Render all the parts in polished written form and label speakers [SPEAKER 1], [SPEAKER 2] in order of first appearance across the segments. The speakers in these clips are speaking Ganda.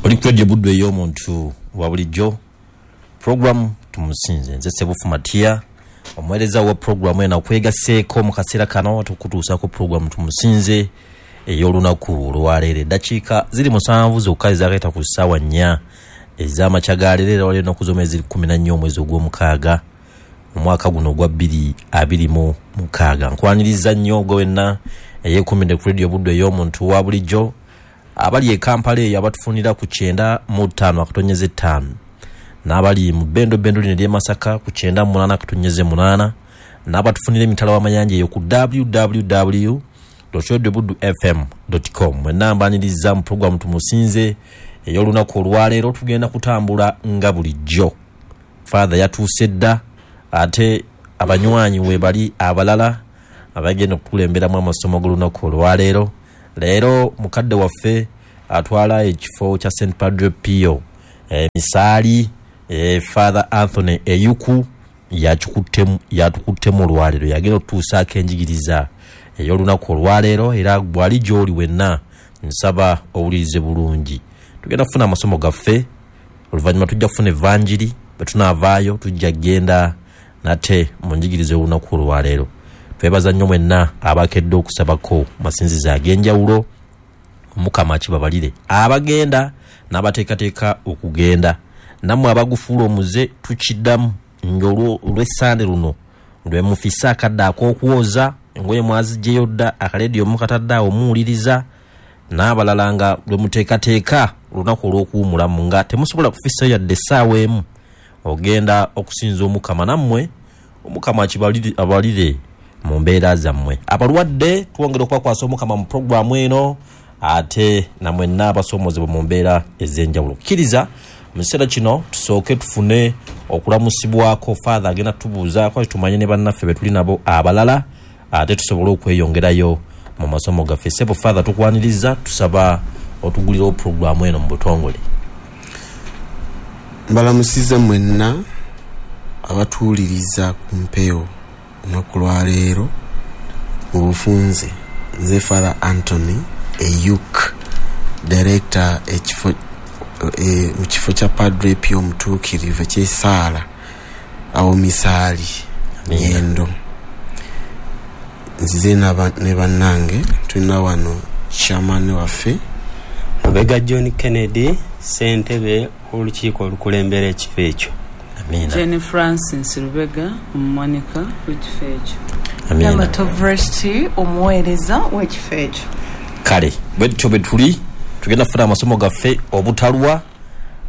[SPEAKER 1] Oli ku Radio Buddu ey'omuntu wa bulijjo, puroguramu Tumusinze. Nze Sebufu Matiya, omuweereza wa puroguramu eno, akwegaseeko mu kaseera kano tukutuusaako puroguramu Tumusinze ey'olunaku olwaleero. Eddakiika ziri 7 zokka ezakaita ku ssaawa 4 ez'amakya ga leero, era waliwo ennaku z'omwezi 14 omwezi ogw'omukaaga omwaka guno ogwa 2026. Nkwaniriza nnyo gwe wenna eyeekuumidde ku Radio Buddu ey'omuntu wa bulijjo, abali e Kampala eyo abatufunira ku 95.5, n'abali mu Bendo Bendo lino ery'e Masaka ku 98.8, n'abatufunira emitala w'amayanja eyo ku www.radiobuddufm.com. Mwenna mbaniriza mu puroguramu Tumusinze ey'olunaku olwaleero. Tugenda kutambula nga bulijjo. Father yatuuse dda, ate abanywanyi we bali abalala abagenda okukulemberamu amasomo g'olunaku olwaleero. Leero mukadde waffe atwala ekifo kya St Padre Pio Misaali, Father Anthony Eyuku yatukuttemu olwaleero, yagenda okutuusaako enjigiriza ey'olunaku olwaleero. Era bw'ali gy'oli wenna, nsaba owulirize bulungi. Tugenda kufuna amasomo gaffe, oluvannyuma tujja kufuna evanjiri, bwe tunaavaayo tujja kugenda nate mu njigiriza ey'olunaku olwaleero. Twebaza nnyo mwenna abakedde okusabako masinzizo ag'enjawulo. Omukama akibabalire abagenda n'abateekateeka okugenda, nammwe abagufuula omuze. Tukiddamu ng'olw'essande luno lwe mufise akadde ak'okwoza engoye, mwaziggyeyo dda, akalediyo mukatadde awo muwuliriza, n'abalala nga lwe muteekateeka olunaku olw'okuwumulamu nga temusobola kufisayo yadde essaawa emu ogenda okusinza Omukama. Nammwe Omukama abalire mu mbeera zammwe. Abalwadde twongera okubakwasa Omukama mu puroguramu eno, ate namwenna abasoomozebwa mu mbeera ez'enjawulo. Kkiriza mu kiseera kino tusooke tufune okulamusibwako. Father agenda tubuuzaako ate tumanye ne bannaffe be tuli nabo abalala, ate tusobole okweyongerayo mu masomo gaffe. Sebo Father, tukwaniriza, tusaba otugulirewo puroguramu eno mu butongole.
[SPEAKER 2] Mbalamusiza mwenna abatuwuliriza ku mpewo olunaku lwaleero mu bufunze. Nze Father Anthony Eyuk, director ekifo mu kifo kya Padre Pio Omutuukirivu eky'esaala awo Misaali Nyendo. Nzize ne bannange, tulina wano chairman waffe
[SPEAKER 3] Lubega John Kennedy, ssentebe w'olukiiko olukulembera ekifo ekyo.
[SPEAKER 1] Amiina.
[SPEAKER 4] Jane Francis Lubega, omuwanika w'ekifo ekyo.
[SPEAKER 1] Amiina.
[SPEAKER 5] Namato Vresti, omuweereza w'ekifo ekyo.
[SPEAKER 1] Kale bwe tutyo bwe tuli tugenda kufuna amasomo gaffe obutalwa,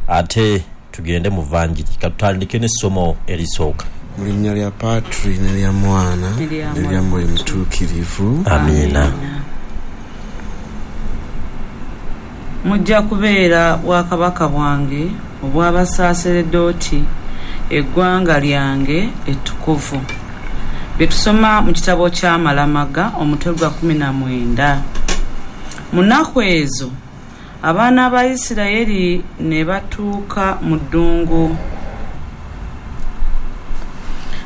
[SPEAKER 1] ate tugende mu vanjiri. Katutandike n'essomo erisooka.
[SPEAKER 2] Mu linnya lya Patri n'erya Mwana
[SPEAKER 4] N'erya
[SPEAKER 2] n'erya Mwoyo Mutuukirivu.
[SPEAKER 1] Amiina.
[SPEAKER 4] Mujja kubeera bwakabaka bwange obw'abasaaseredooti, eggwanga lyange ettukuvu. Bye tusoma mu kitabo ky'Amalamaga omutwe gwa 19. Mu nnaku ezo abaana ba Isirayiri ne batuuka mu ddungu,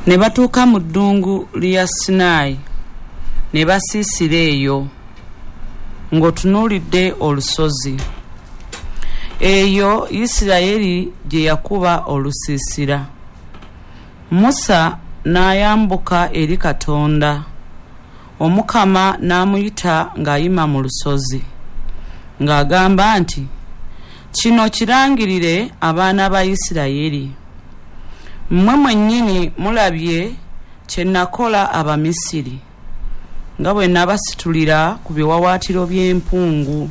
[SPEAKER 4] ne batuuka mu ddungu lya Sinaayi, ne basiisira eyo ng'otunuulidde olusozi. Eyo Isirayiri gye yakuba olusiisira. Musa n'ayambuka eri Katonda, Omukama n'amuyita ng'ayima mu lusozi, ng'agamba nti, Kino kirangirire abaana ba Isirayiri. Mmwe mwennyini mulabye kye nakola Abamisiri, nga bwe nabasitulira ku biwaawaatiro by'empungu,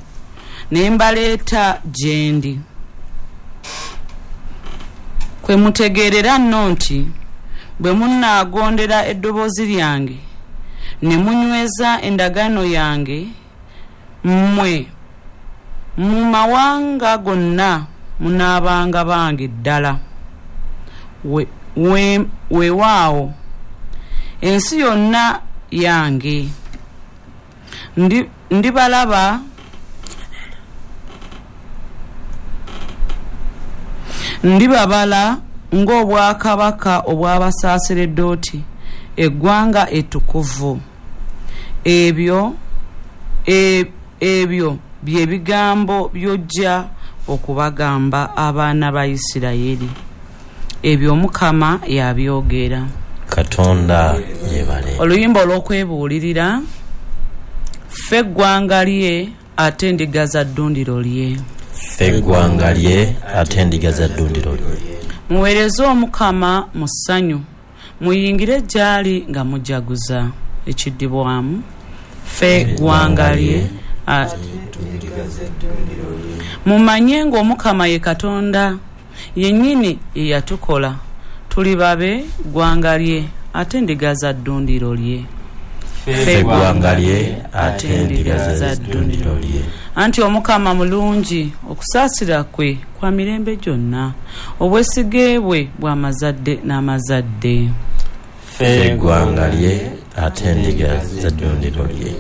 [SPEAKER 4] ne mbaleeta gye ndi. Kwe mutegeerera nno nti bwe munaagondera eddoboozi lyange ne munyweza endagaano yange, mmwe mu mawanga gonna munaabanga bange ddala. Weewaawo ensi yonna yange. Ndibalaba ndibabala ng'obwakabaka obw'abasaaseredooti, eggwanga ettukuvu. Ebyo bye bigambo by'ojja okubagamba abaana ba Isirayiri. Ebyo Omukama yabyogera.
[SPEAKER 1] Katonda yebale.
[SPEAKER 4] Oluyimba olw'okwebuulirira. Ffe eggwanga lye ate endiga za ddundiro lye.
[SPEAKER 1] Ffe eggwanga lye ate endiga za ddundiro lye.
[SPEAKER 4] Muweereze Omukama mu ssanyu, muyingire gy'ali nga mujaguza. Ekiddibwamu, ffe eggwanga lye. Mumanye ng'Omukama ye Katonda yennyini ye yatukola, tuli babe ggwanga lye ate endiga za ddundiro lye.
[SPEAKER 1] Ffe eggwanga lye ate endiga za ddundiro lye.
[SPEAKER 4] Anti Omukama mulungi, okusaasira kwe kwa mirembe gyonna, obwesige bwe bw'amazadde n'amazadde.
[SPEAKER 1] Ffe eggwanga lye ate endiga za ddundiro lye.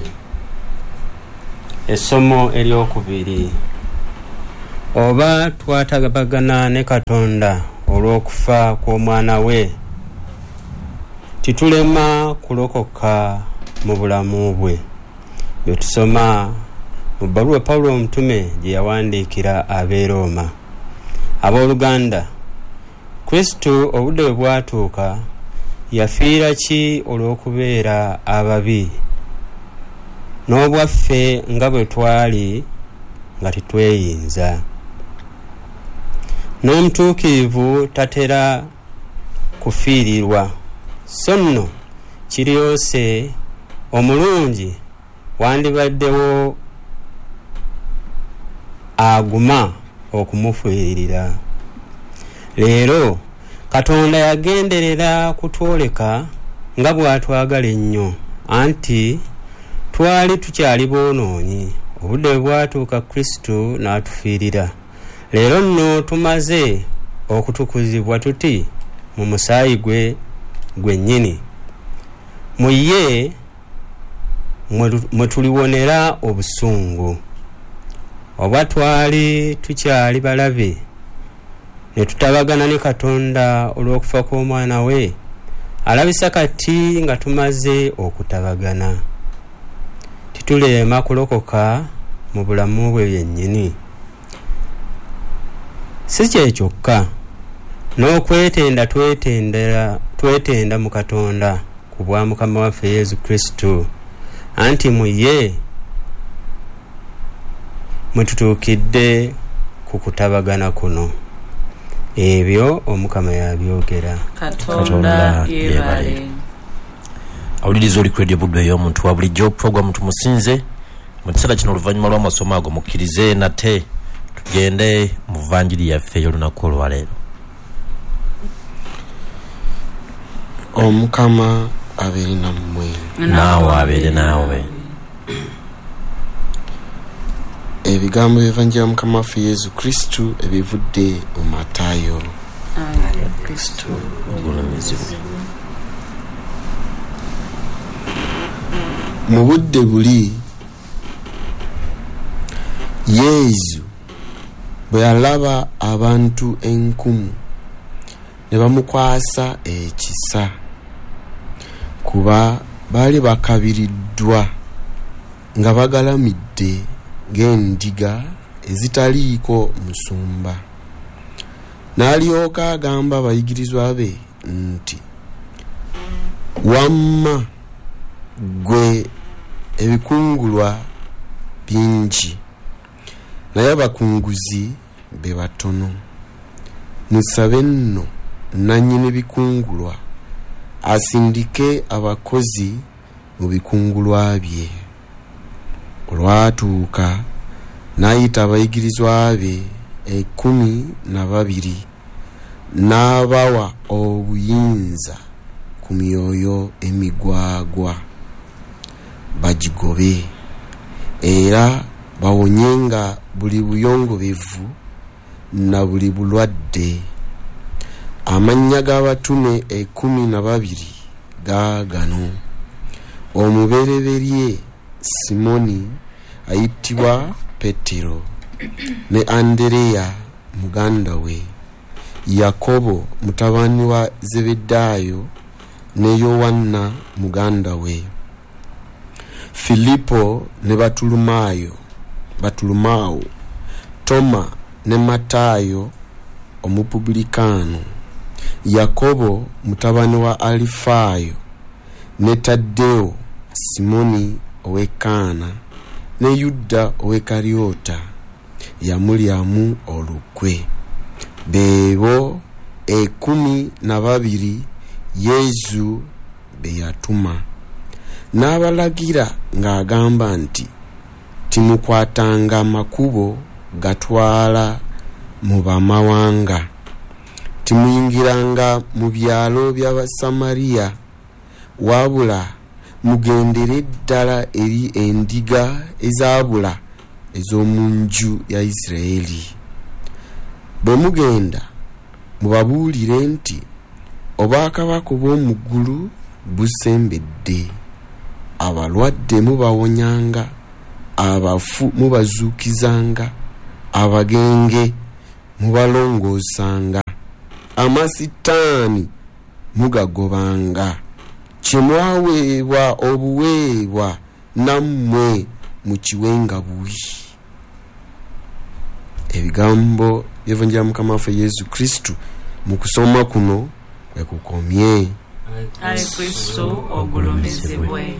[SPEAKER 3] Essomo eryokubiri. Oba twatabagana ne Katonda olw'okufa kw'omwana we, titulema kulokoka mu bulamu bwe. Bye tusoma mu bbaluwa Pawulo omutume gye yawandiikira ab'e Rooma. Abooluganda, Kristo obudde bwe bwatuuka yafiira ki olw'okubeera ababi, n'obwaffe nga bwe twali nga tetweyinza. N'omutuukirivu tatera kufiirirwa, so nno kiryose omulungi wandibaddewo aguma okumufiiririra. Leero Katonda yagenderera kutwoleka nga bw'atwagala ennyo, anti twali tukyali boonoonyi. Obudde bwe bwatuuka Kristo n'atufiirira. Leero nno tumaze okutukuzibwa tuti mu musaayi gwe gwennyini. Mu ye mwe tuliwonera obusungu. Oba twali tukyali balabe ne tutabagana ne Katonda olw'okufa kw'omwana we, alabisa kati nga tumaze okutabagana. Titulema kulokoka mu bulamu bwe byennyini. Si kye kyokka, n'okwetenda twetenda mu Katonda ku bwa Mukama waffe Yesu Kristo, anti mu ye mwe tutuukidde ku kutabagana kuno. Ebyo Omukama yabyogera.
[SPEAKER 4] Katonda yebale.
[SPEAKER 1] Awuliriza oli ku Radio Buddu ey'omuntu wa bulijjo, puroguramu tumusinze. Mu kiseera kino oluvannyuma lw'amasomo ago mukkirize nate tugende mu vanjiri yaffe ey'olunaku olwaleero.
[SPEAKER 2] Omukama abeere nammwe.
[SPEAKER 1] Naawe abeere naawe.
[SPEAKER 2] Ebigambo by'Evanjiri ya Mukama waffe Yesu Kristo ebivudde mu Matayo.
[SPEAKER 1] Kristo ogulumizibwe.
[SPEAKER 2] Mu budde buli Yesu bwe yalaba abantu enkumu ne bamukwasa ekisa, kuba baali bakabiriddwa nga bagalamidde ng'endiga ezitaliiko musumba. N'alyoka agamba abayigirizwa be nti, wamma ggwe ebikungulwa bingi, naye abakunguzi be batono. Musabe nno nannyini bikungulwa asindike abakozi mu bikungulwa bye. Olwatuuka n'ayita abayigirizwa be 12 n'abawa obuyinza ku myoyo emigwagwa bagigobe, era bawonyenga buli buyongobevu na buli bulwadde. Amannya g'abatume 12 gaagano: omubereberye Simoni ayitibwa Petero, ne Andereya muganda we, Yakobo mutabani wa Zebedaayo, ne Yowanna muganda we, Filipo ne Batulumaawo, Toma ne Matayo omupublikaano, Yakobo mutabani wa Alifaayo ne Taddewo, Simoni ow'e Kaana ne Yuda ow'e Karyota yamulyamu olukwe. Beebo 12 Yezu be yatuma, n'abalagira ng'agamba nti timukwatanga makubo gatwala mu bamawanga, timuyingiranga mu byalo by'Abasamariya, wabula mugendere ddala eri endiga ezaabula ez'omu nju ya Isirayiri. Bwe mugenda mubabuulire nti obwakabaka obw'omu ggulu busembedde. Abalwadde mubawonyanga, abafu mubazuukizanga, abagenge mubalongoosanga, amasitaani mugagobanga. Kye mwaweebwa obuweebwa nammwe mukiwenga buwi. Ebigambo by'Evanjiri ya Mukama waffe Yesu Kristu mu kusoma kuno kwe kukomye.
[SPEAKER 4] Ayi Kristo ogulumizibwe.